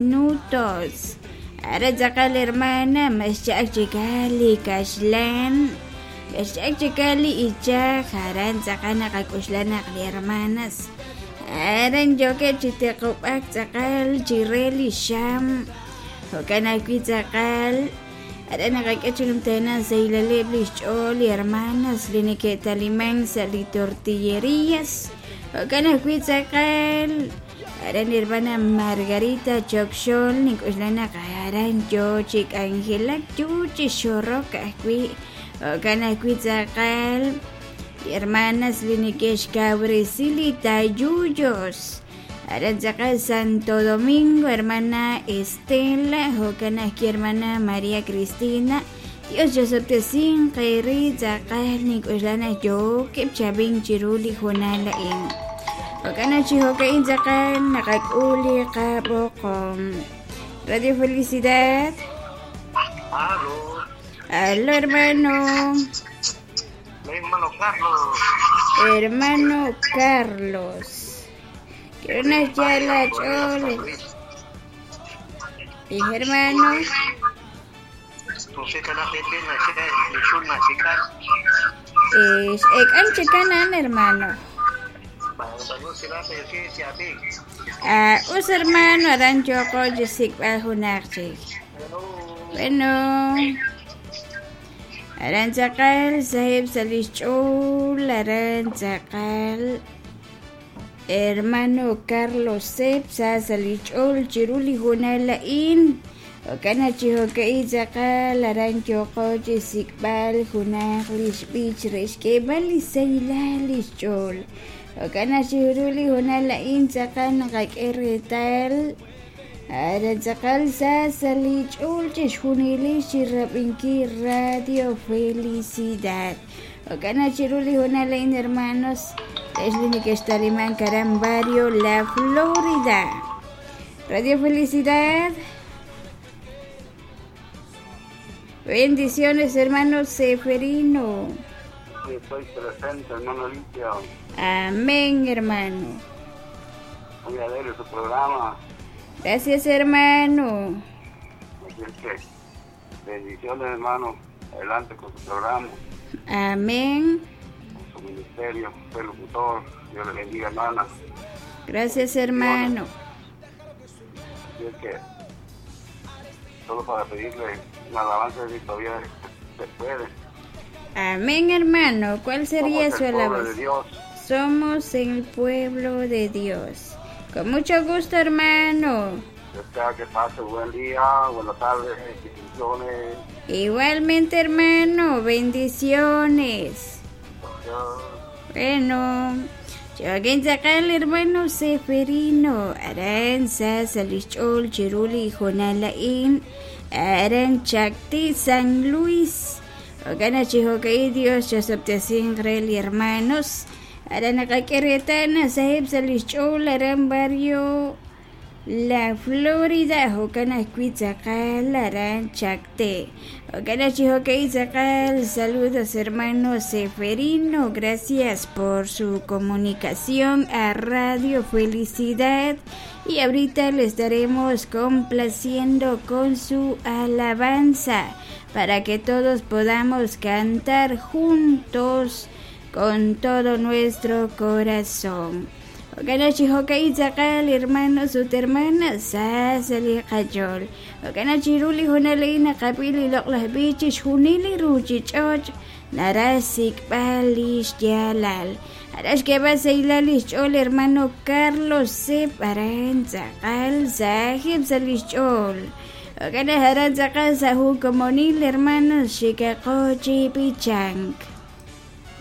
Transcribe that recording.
Minutos. Aran tz'aqal hermana, mas xcha'ak chikal li kaxlan, mas xcha'ak chikal li ichaj, aran tz'aqal naqak'oxla naq li hermanas aran yookeb' chi tiqub'ak tz'aqal chire li xam, jo'kan ajwi' tz'aqal aran naqak'e chi numtajenaq xsahilaleb' li xch'ool li hermanas li neke'taliman sa' li tortillerías, jo'kan ajwi' tz'aqal Aran hermana Margarita Chokxol nink'oxla naq aran yoo chi k'anjelak yoo chi xorok ajwi' jo'kan ajwi' tz'aqal li hermanas li neke'xkawresi li tayuyos aran tz'aqal Santo Domingo hermana Estela jo'kan ajwi' hermana María Cristina Dios chosob'tesinq eere tz'aqal nink'oxla naq yookeb' chi ab'ink chiru li hoonal a'in. Jo'kan naq chi jo'ka'in tz'aqal naqak'ul li qab'oqom. Radio Felicidad. Aló. Aló, hermano. Hermano Carlos. Hermano Carlos. Quiero una yala chole. Y hermano. X'ek'an chikan a'an hermano. Ah, us hermano, aran yooqo chi xsik'b'al junaq chik. Bueno, aran tz'aqal saheb' sa' lix ch'ool, aran tz'aqal Hermano Carlos Sep sa sa' li ch'ool chiru li hoonal a'in. Jo'kan naq chi jo'ka'in tz'aqal aran yooqo chi xsik'b'al junaq li xb'ich re xk'eeb'al li sahilal li xch'ool. Jo'kan naq chiru li hoonal a'in tz'aqal naqak'e reetal aran tz'aqal sa sa' li ch'ool chixjunilix chi rab'inkil Radio Felicidad. Jo'kan naq chiru li hoonal a'in hermanos, ex li nekextalimank aran Barrio La Florida. Radio Felicidad. Bendiciones, hermano Seferino. Estoy presente, hermano Lidia. Amén, hermano. Muy alegre su programa. Gracias, hermano. Así es que, bendiciones, hermano. Adelante con su programa. Amén. Con su ministerio, usted locutor. Dios le bendiga, hermana. Gracias, hermano. Así es que, solo para pedirle una alabanza si todavía se puede. Amén, hermano. ¿Cuál sería Somos su el pueblo alabanza? de Dios. Somos el pueblo de Dios. Con mucho gusto, hermano. Deseo que pase buen día, buena tarde, bendiciones. Igualmente, hermano. Bendiciones. Adiós. Bueno, Joaquín Zacal, hermano Seferino, Aranza, Salichol, Chiruli, Jonalain, Aran Chacti, San Luis. Ogana Chihokai, Dios, Chosoptesin, Rel y hermanos. Aran Akakeretana, Sahib Salichol, Aran Barrio. La Florida, jo'kan ajwi' tz'aqal aran Chacté. Jo'kan chi jo'ka'in tz'aqal, saludos hermano Seferino, gracias por su comunicación a Radio Felicidad y ahorita le estaremos complaciendo con su alabanza para que todos podamos cantar juntos con todo nuestro corazón. Jo'kan chi jo'ka'in tz'aqal hermanos ut hermanas sa sa' li qach'ool. Jo'kan chiru li hoonal a'in naqab'i li loq'laj b'ich chixjunil li ruchich'och' naraj xsik'b'al li xyaalal. Aran xk'eeb'al sahilal li xch'ool hermano Carlos Sep aran tz'aqal saheb' sa' li xch'ool. Jo'kan naq aran tz'aqal sa' jun komonil hermanos xikaqo chi b'ichank.